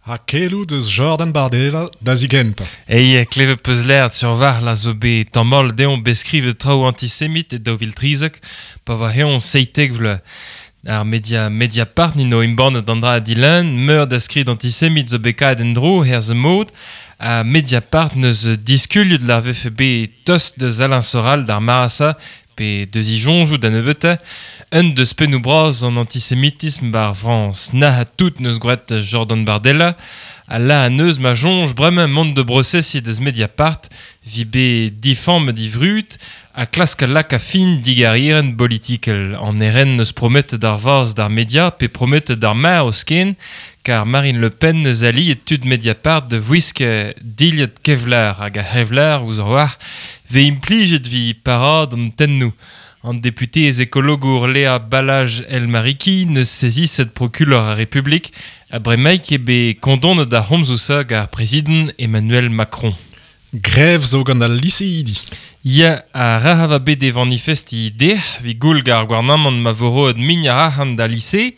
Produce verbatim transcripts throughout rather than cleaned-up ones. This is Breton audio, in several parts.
Ha keloù deus Jordan Bardella da zigentañ. Ei, klevet peus lert sur var la zo bet tammol deomp beskrivet traoù antisemit e daou vil trizek, pa va heon seitek vle. Ar media Mediapart nino imbannet an dra dilen, meur da skrid antisemit zo bet kaet en dro herz mod, ha Mediapart neus diskuliet la vefe bet tost deus Alain Soral d'ar marasa, pe deus i jonjou da nebeute, un deus pennou braz an antisemitisme bar Frans. Na ha tout neus gwret Jordan Bardella, a la a neus ma jonj bremañ mont de brosesi deus Mediapart, vi be difamm di vrut, a klask lak a fin digarieren politikel. An eren neus promet d'ar vaz d'ar media, pe promet d'ar ma o sken, kar Marine Le Pen neus ali et tud Mediapart de vwisk dilhet Kevlar hag a Hevlar ouz ar war, ve implijet vi parad an tennou. An député ez ekologour Léa Balaj El Mariki neus sezisset prokulor a Republik, a bremaik e be kondon da homzousa gar prezident Emmanuel Macron. Grève zo gant al liseidi. Ya, a raha va bet e manifesti deh, vi goul gar gouarnamant ma voro ad mign a rahan da lise,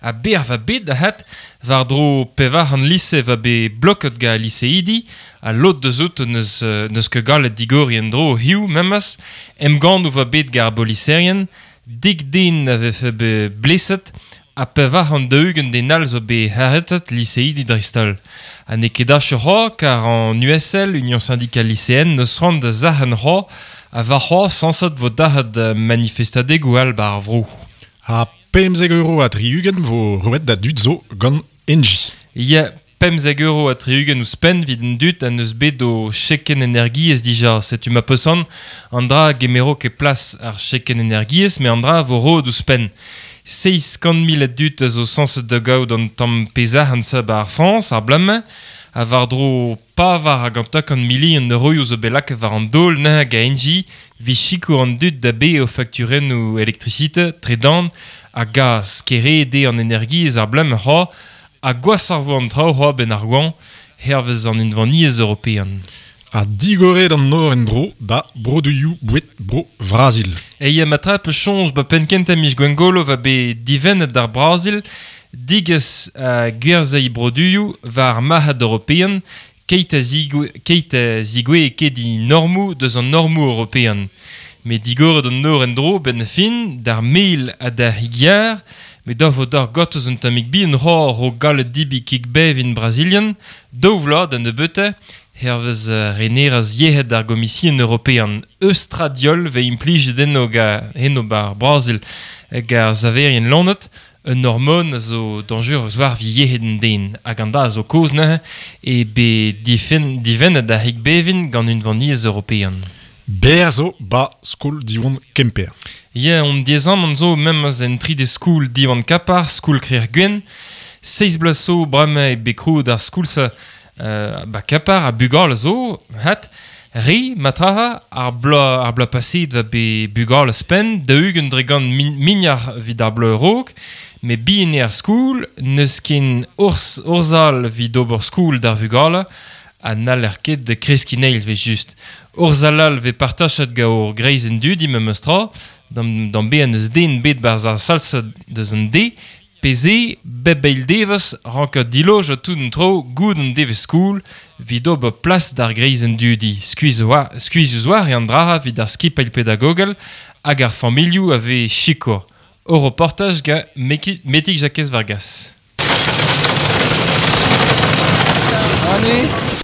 a ber va bet da hat, war dro pevar an lise va be bloket ga liseidi, a lot deus out neus, neus ket gallet digori en dro hiu memes, emgann va bet gar boliserien, dik den a vefe be bleset, a pevar an daougen den all zo be haretet liseidi dreist-holl. Ha n'eo ket ach c'ho, kar an U S L, Union Syndicale Lycéenne, neus rand da zahen c'ho, a var c'ho sañset vo dac'hat manifestadegoù all bar vro. Ha pemzek euro a tri-ugent vo roet da dud zo gant Engie. Ya, pemzek euro a tri-ugent ouzhpenn evit an dud a neus bet o cheken energiezh dija. Setu ma peusant, an dra gemero ket plas ar cheken energiezh, me an dra vo roet ouzhpenn. Seizh kant mil a dud a zo sañset da gaout an tamm pezh an sa bar Frañs, ar blamañ, a war dro pavar hag an tak an mili an euroioù zo bet lakaet war an daol neuze hag a Engie, vi sikour an dud da be o fakturennoù elektrisite, tredan, a gaz, kere de an energiezh ar blamañ c'ho, a gwas ar vo an traoù c'ho ben ar gwan, hervez an unvaniezh european. A digoret an nor en dro da broduioù bouet bro Brazil. E ya matra pe chonj ba penn kentañ miz Gwengolo va be divennet d'ar Brazil, digez a gwerzhei broduioù war marc'had european, keit a zigoue, keit a zigoue e ket i normou deus an normou european. Me digoret an nor en dro ben fin d'ar mel ha d'ar higiar, me da vo d'ar gotoz un tammig bi en c'hor ro gallet dibi kik bev in Brazilian, daou vloaz da nebeute, hervez reneraz yec'hed ar gomisien european Östradiol ve implijet enno ga eno bar Brazil hag ar saverien lonet, un hormone a zo dañjerus war vi yec'hed an den hag an da a zo kozh neuze e be difen, divennet da hik bevin gant unvaniezh european. Ber zo ba skol Diwan Kemper. Ya, on diezan an zo memes en tri de skol Diwan Kapar, skol Krer Gwenn, seiz bloaz zo bremañ e bet krouet ar skol sa Euh, ba Kapar a bugal zo, hat, re, matraha, ar bloaz, ar bloaz paset va be bugal spen, da ugent dre gant min, mignard vid ar bloaz raok, me bien ar skoul, neus ken urs, urzal vid ober skoul d'ar vugale, ha n'haller ket de kreskiñ ve just. Urzal all ve partachet ga ur greiz en dudi memes tra, d'am, d'am be an eus den bet barz ar salsa deus an de, Peze, bep eil devez, rank a diloj a tout an tro goud an devez skoul, vid ober plas d'ar greiz en dudi. Skuizh oa, skuizh oa e an draha vid ar skipailh pedagogel hag ar familhoù a vez sikour. O reportaj ga Meki, Metik Jakez Vargas.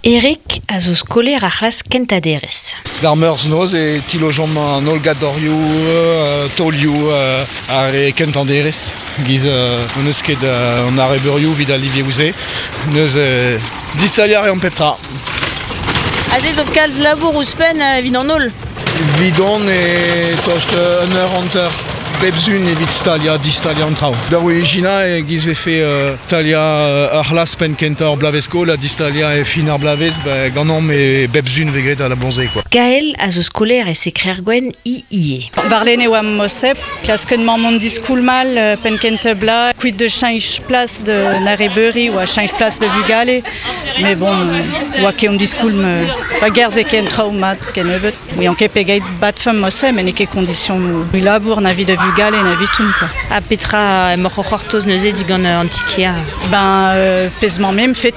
Eric a zo skolaer ar c'hlas kentañ-derez. D'ar meurzh noz e tilojomp an holl gadorioù, euh, taolioù, euh, ar e kentañ-derez. Giz euh, on eus ket euh, an arrebeurioù vid al livioù-se. Neus euh, distaliar e an pep tra. Aze zo kalz labour ouzhpenn euh, evit an holl. Vidon e tost euh, un eur hanter. Bep zun evit stalia, distalia an traoù. Da origina e giz vefe euh, stalia euh, ar c'hlas penn kentañ ar blavez skol ha distalia e fin ar blavez, ba, ganeomp e bep zun vez graet a la bonze, quoi. Gaël a zo skolaer e sekrer gwenn i ie. Varlene oa mosep, klasken mammon diskoul mal, euh, penn kentañ bla, kuit de cheñch plas de narebeuri oa cheñch plas de vugale, mais bon, oa ket on diskoul me, pa gerze ken traoù mat ken nebeut. Oui, an ket pegeit bat fem mosep, mais n'eo ket kondision labour na vid de vugale na vitoun, quoi. Ha petra emaoc'h o c'hortoz neuze digant an tikier? Ben, euh, pezh mañ mem fet